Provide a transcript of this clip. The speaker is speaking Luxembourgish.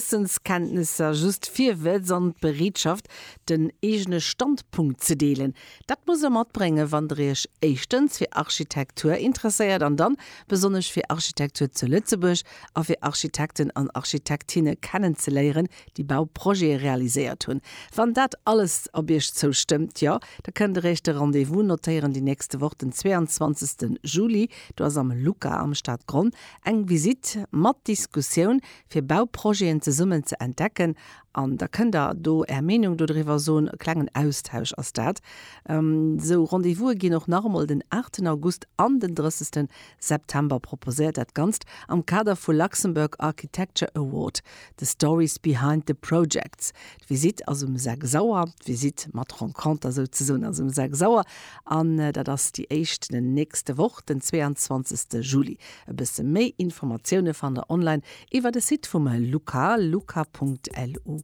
Wëssenskenntnisser, just Virwëtz an d'Bereetschaft, den eegene Standpunkt ze deelen. Dat musst der matbréngen, wann der iech éischtens fir Architektur interesséiert an dann besonnesch fir Architektur zu Lëtzebuerg a fir Architekten an Architektinne kennenzeléieren, déi Bauprojete realiséiert hunn. Wann dat alles op iech zoustëmmt, jo, da kënnt der iech de Rendez-vous notéieren déi nächste Woch, den 22. Juli, do ass am LUCA am Stadgronn eng Visitt mat Diskussioun, fir Bauprojeten zesummen ze entdecken an da kënnt der do Är Meenung dodriwwer soen. E klengen Austausch ass dat. Esou Rendez-vouse ginn och nach emol den 8 August an den 30 September proposéiert. Dat Ganzt am Kader vu Luxembourg Architecture Award, The Stories behind the Projects. D'Visitt ass um 6 Auer, d'Visitt mat Renconter souzesoen ass um 6 Auer an dat ass déi éischt nächste Woch, den 22 Juli. E bësse méi Informatioune fannt der online iwwer de Site vum LUCA, luca.lu.